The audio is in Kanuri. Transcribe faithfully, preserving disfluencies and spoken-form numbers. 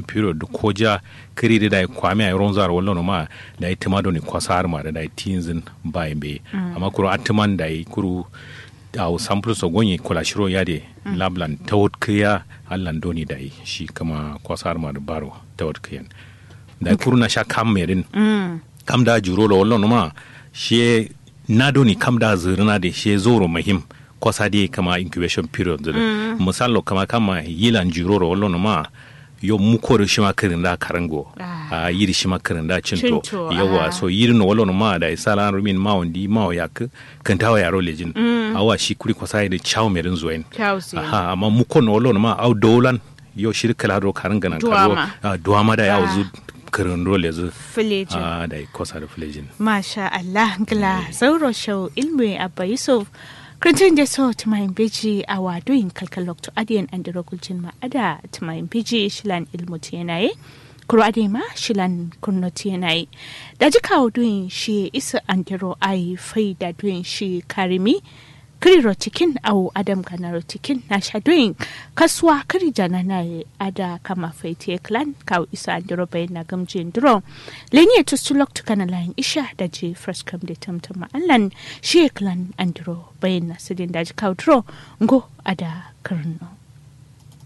period dǝ koja kǝri dǝ dayi kwami yayi ronza ro wallono ma. Dayi tǝma doni kwasa har ma dǝ dayi tinzǝn bayi mbeyi. Amma kuru atǝman dayi kuru awo sample so gonye kola shiro yade. Lablan tawot kǝya allan doni dayi shi kǝma kwasa har ma dǝ baro tawot kǝyen. Dayi kuru na sha kam merin kam da juro ro wallono ma. Shiye na doni kam da zǝrǝna de shiye zoro muhim. Kwasa de kama incubation period zǝ dǝ. Misal lo kama kama yilan juro ro wallono ma. Yo muko dǝ shima kǝrin da karango. A yiri shima kǝrin da cinto. Yawa so yiri no wallono ma dayi sala rumin ma wandi ma yakkǝ. Kǝntawo yaro lejin. Awa shi kuri kwasa yede chawo merin zoyin. Aha amma muko no wallono ma au dowlan. Yo shiri kǝla duro karin gǝnan kaduwa. Duwama da yawo zu kǝrin duro lezu. Filejin. Dayi kosa dǝ filejin. Masha allah ngla zauro shau ilmu ye abba yusuf. Kǝrintǝn de so tǝmayin beji awa duyin kalkal loktu adiyen andiro guljin ma ada tǝmayin beji shilan ilmu tiyena ye. Kuru adai ma shilan kǝrno tiyena ye. Daji kawo duyin shi isǝ andiro ayi faida duyin shi karimi. Kǝri ro tikin awo adam gana ro tikin na sha duyin. Kasuwa kǝri janana ye ada kama faitiye kǝlan kawo isǝ andiro bayin na gǝmjin duro. Leniye tustu loktu kana layin isha daji first kam de tamtam ma allan. Shiye kǝlan andiro bayin na sǝdin daji kawo duro. Ngo ada kǝrno.